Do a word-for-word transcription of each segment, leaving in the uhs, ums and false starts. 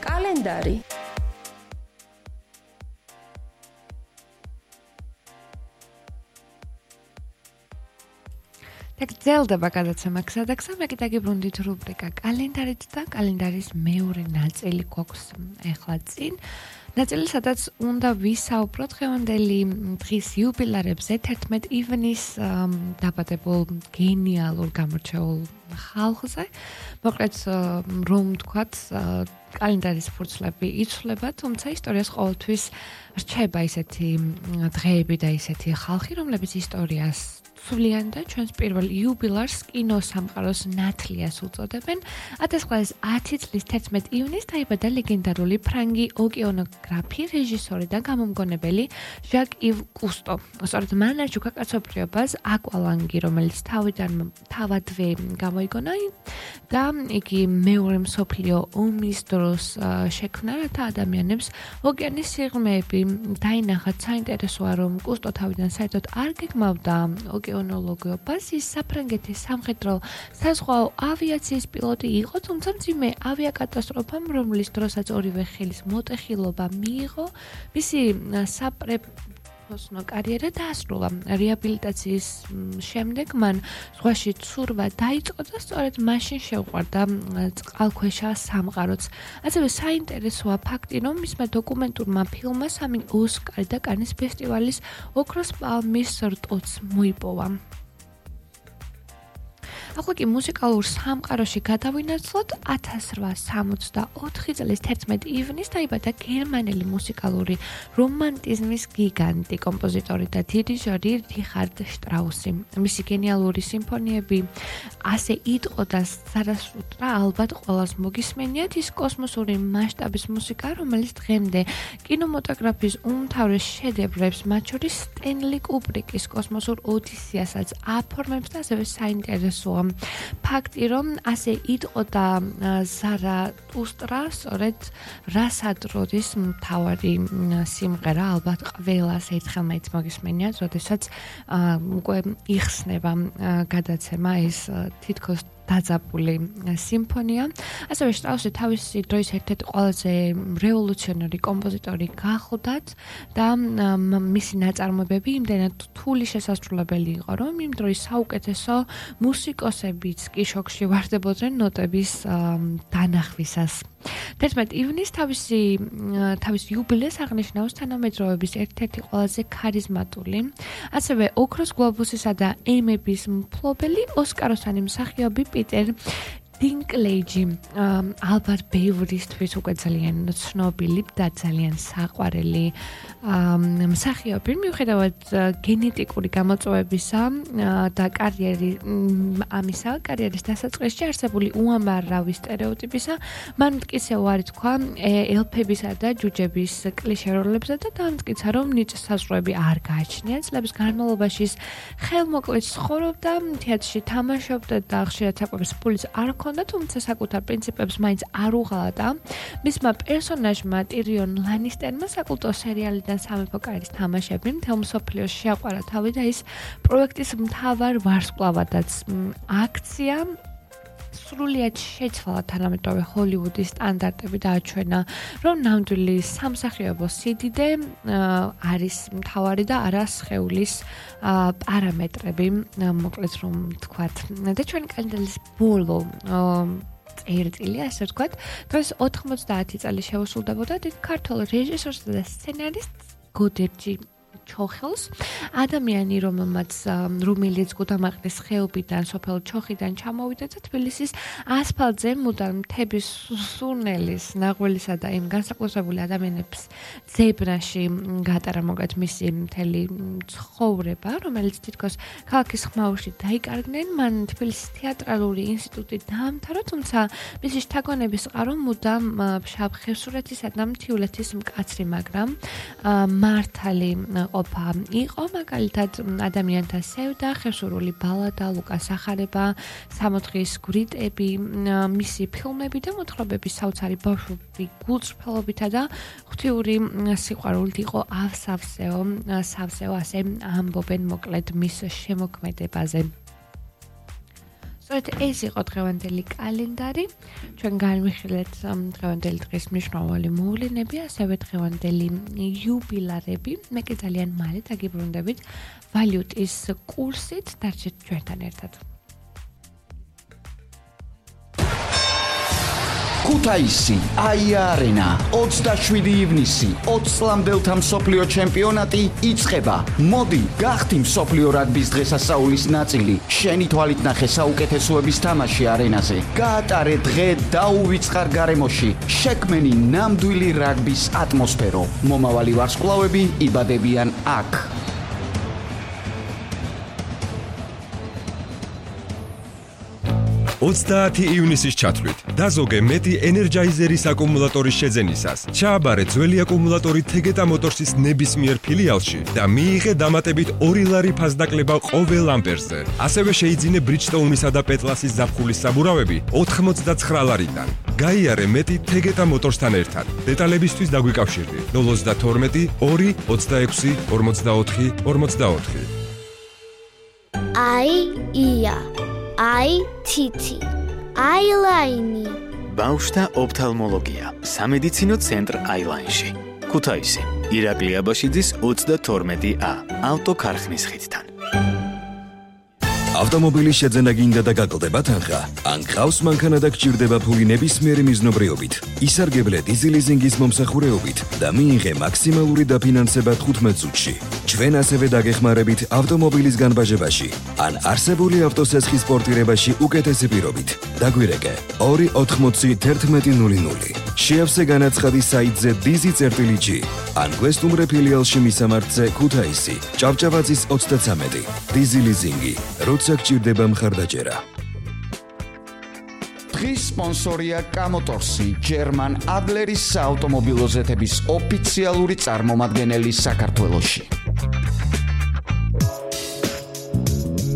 კალენდარი გრძელდება გადაცემა გზადაგზა, მე კიდე გიბრუნდით რუბრიკა კალენდარით და კალენდარის მეორე ნაწილი გვაქვს ახლა წინ. ნაწილი, სადაც უნდა ვისაუბროთ დღევანდელი დღის იუბილარებზე, თერთმეტ ივნის დაბადებულ გენიალურ გამორჩეულ ხალხზე. მოკლედ, რომ ვთქვათ, კალენდარის ფურცლები იცვლება, თუმცა ისტორიას ყოველთვის რჩება ისეთი დღეები და ისეთი ხალხი, რომლებიც ისტორიას ცვლიან და ჩვენს პირველ იუბილარს კინოსამყაროს ნათლიას უწოდებენ. ათასცხრაასი ათი წლის თერთმეტ ივნის დაიბადა ლეგენდარული ფრანგი ოკეანოგრაფი, რეჟისორი და გამომგონებელი ჟაკ ივ კუსტო. სწორედ მან აჩუქა კაცობრიობას აკვალანგი, რომელიც თავიდან თავადვე გამოიგონა და იგი მეორე მსოფლიო ომის დროს შექმნა, რათა ადამიანებს ოკეანის სიღრმეები დაინახათ. საინტერესოა, რომ კუსტო თავიდან საერთოდ არ გეგმავდა ოკეანოლოგიობას, ის საფრანგეთის სამხედრო საზღვაო ავიაციის პილოტი იყო, თუმცა მძიმე ავიაკატასტროფამ, რომლის დროსაც ორივე ხელის მოტეხილობა მიიღო, მისი საპროფესიონალო კარიერა დაასრულა. რეაბილიტაციის შემდეგ მან ზღვაში ცურვა დაიწყო და სწორედ მაშინ შეუყვარდა წყალქვეშა სამყაროც. ასევე საინტერესოა ფაქტი, რომ მისმა დოკუმენტურმა ფილმმა სამი ოსკარი და კანის ფესტივალის ოქროს პალმის რტოც მოიპოვა. ახლა კი მუსიკალურ სამყაროში გადავინაცვლოთ. ათასრვაასი სამოცდაოთხი წლის თერთმეტ ივნის დაიბადა გერმანელი მუსიკალური რომანტიზმის გიგანტი, კომპოზიტორი და დირიჟორი რიხარდ შტრაუსი. მისი გენიალური სიმფონიები ასე იტყო და სარასუტრა ალბათ ყველას მოგისმენიათ. ის კოსმოსური მასშტაბის მუსიკა, რომელიც დღემდე კინემატოგრაფიის უმთავრეს შედევრებს, მათ შორის სტენლი კუბრიკის კოსმოსურ ოდისეასაც აფორმებს და ასევე საინტერესოა ფაქტი, რომ ასე იტყო და ზარათუსტრა სწორედ რასადროდის მთავარი სიმღერა, ალბათ ყველას ერთხელ მაინც მოგისმენიათ, როდესაც უკვე იხსნება გადაცემა ეს თითქოს დაძაბული სიმფონია. ასევე შტრაუსი თავისი დროის ერთ-ერთი ყველაზე რევოლუციონერი კომპოზიტორი გახლდათ და მისი ნაწარმოებები იმდენად რთული შესასრულებელი იყო, რომ იმ დროის საუკეთესო მუსიკოსებიც კი შოკში ვარდებოდნენ ნოტების დანახვისას. თერთმეტ ივნის თავისი თავის იუბილეს აღნიშნავს თანამედროვეების ერთ-ერთი ყველაზე ქარიზმატული, ასევე ოქროს გლობუსისა და ემების მფლობელი, ოსკაროსანი მსახიობი პიტერ დინკლეიჯი, ალბათ ბევრისთვის უკვე ძალიან ცნობილი და ძალიან საყვარელი მსახიობი, მიუხედავად გენეტიკური გამოწვევებისა და კარიერის ამისა, კარიერის დასაწყისში არსებული უამრავი სტერეოტიპისა, მან მტკიცე უარი თქვა ელფებისა და ჯუჯების კლიშე როლებზე და დაამტკიცა, რომ ნიჭსაზღვრები არ გააჩნია. წლების განმავლობაში ხელმოკლედ ცხოვრობდა, თეატრში თამაშობდა და ხშირად საკვების ფულიც არ ჰქონდა, თუმცა საკუთარ პრინციპებს მაინც არ უღალატა. მისმა პერსონაჟმა ტირიონ ლანისტერმა საკულტო სერიალიდან სამეფო კარის თამაშები მთელ მსოფლიოში შეაყვარა თავი და ის პროექტის მთავარ ვარსკვლავადაც აქცია სრულიად შეცვალა თანამედროვე ჰოლივუდის სტანდარტები და აჩვენა, რომ ნამდვილი სამსახიობო სიდიდე არის მთავარი და არა სხეულის პარამეტრები, მოკლედ რომ ვთქვათ. და ჩვენი კალენდარის ბოლო წერტილი, ასე ვთქვათ, დღეს ოთხმოცდაათი წელი შეუსრულდებოდა დიდ ქართველ რეჟისორს და სცენარისტს გოდერძი ჩოხელს, ადამიანი, რომელმაც რომელიც გუდამაყრის ხეობიდან, სოფელ ჩოხიდან ჩამოვიდა და თბილისის ასფალტზე მუდამ მთების სურნელის, ნაღველისა და იმ განსაკუთრებული ადამიანების ძებრაში გატარა მოგეთ მისი მთელი ცხოვრება, რომელიც თითქოს ქალაქის ხმაურში დაიკარგნენ. მან თბილისის თეატრალური ინსტიტუტი დაამთავრა, თუმცა მისი შთაგონების წყარო მუდამ ფშავ ხევსურეთისა და მთიულეთის მკაცრი, მაგრამ მართალი ყოფა იყო, მაგალითად ადამიანთა სევდა, ხევსურული ბალადა, ლუკას სახარება, სამოთხის გვრიტები, მისი ფილმები და მოთხრობები საოცარი ბავშვობი გულწრფელობითა და ღვთიური სიყვარულით იყო ავსავსეო, სავსეო, ასე ამბობენ მოკლედ მის შემოქმედებაზე. სწორედ ეს იყო დღევანდელი კალენდარი. ჩვენ განვიხილეთ დღევანდელი დღის მნიშვნელოვანი მოვლენები, ასევე დღევანდელი იუბილარები. მე კი ძალიან მალე დაგიბრუნდებით ვალუტის კურსით. დარჩეთ ჩვენთან ერთად. ქუთაისი, აია-არენა, ოცდაშვიდი ივნისი, ოცი წლამდელთა მსოფლიო ჩემპიონატი იწყება. მოდი, გახდი მსოფლიო რაგბის დღესასწაულის ნაწილი. შენი თვალით ნახე საუკეთესოების თამაში არენაზე. გაატარე დღე დაუვიწყარ გარემოში. შექმენი ნამდვილი რაგბის ატმოსფერო. მომავალი ვარსკვლავები იბადებიან აქ. ოცდაათი ივნისის ჩათვლით დაზოგე მეტი ენერჯაიზერის აკუმულატორის შეძენისას. ჩააბარე ძველი აკუმულატორი თეგეტა მოტორსის ნებისმიერ ფილიალში და მიიღე დამატებით ორი ლარი ფასდაკლება ყოველ ამპერზე. ასევე შეიძინე ბრიჯსტოუნისა და პეტლასის ზაფხულის საბურავები ოთხმოცდაცხრა ლარიდან. გაიარე მეტი თეგეტა მოტორსთან ერთად. დეტალებისთვის დაგვიკავშირდი ნულ ოცდათორმეტი ორი ოცდაექვსი ორმოცდაოთხი ორმოცდაოთხი. აი ია აი თითი აილაინი ბავშვთა ოფთალმოლოგია სამედიცინო ცენტრ აილაინში ქუთაისი ირაკლი აბაშიძის ოცდათორმეტი ა ავტოქარხნის ხიდთან. ავტომობილის შეძენა გინდა და გაკლდება თანხა? ან გყავს მანქანა და გჭირდება ფული ნებისმიერი მიზნობრიობით? ისარგებლე დიზელიზინგის მომსახურეობით და მიიღე მაქსიმალური დაფინანსება თხუთმეტ წუთში. ჩვენ ასევე დაგეხმარებით ავტომობილის განბაჟებაში ან არსებული ავტოსესხის პორტირებაში უკეთესი პირობით. დაგვირეკე ორი ოთხმოცი თერთმეტი ნული ნული. შეავსე განაცხადი საიტზე დიზი წერტილი ჯი ან გვესტუმრე ფილიალში მისამართზე ქუთაისი ჭავჭავაძის ოცდაცამეტი. დიზი ლიზინგი, როცა გჭირდება მხარდაჭერა. დღის სპონსორია კამოტორსი, ჯერმან ადლერის საავტომობილო ზეთების ოფიციალური წარმომადგენელი საქართველოში.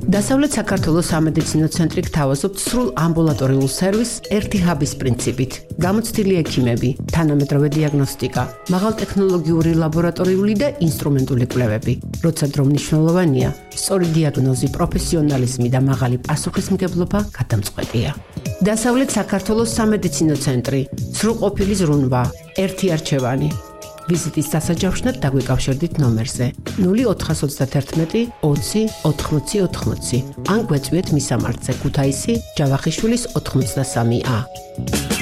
დასავლეთ საქართველოს სამედიცინო ცენტრი გთავაზობთ სრულ ამბულატორიულ სერვისს ერთი ჰაბის პრინციპით. გამოცდილი ექიმები, თანამედროვე დიაგნოსტიკა, მაღალტექნოლოგიური ლაბორატორიული და ინსტრუმენტული კვლევები. როცა დრო მნიშვნელოვანია, სწორი დიაგნოზი, პროფესიონალიზმი და მაღალი პასუხისმგებლობა გადამწყვეტია. დასავლეთ საქართველოს სამედიცინო ცენტრი, სრულყოფილი ზრუნვა, ერთი არჩევანი. ვიზიტის დასაჯავშნად დაგვიკავშირდით ნომერზე ნული ოთხას ოცდათერთმეტი ოცი ოთხმოცი ოთხმოცი ან გვეწვიეთ მისამართზე ქუთაისი ჯავახიშვილის ოთხმოცდასამი ა.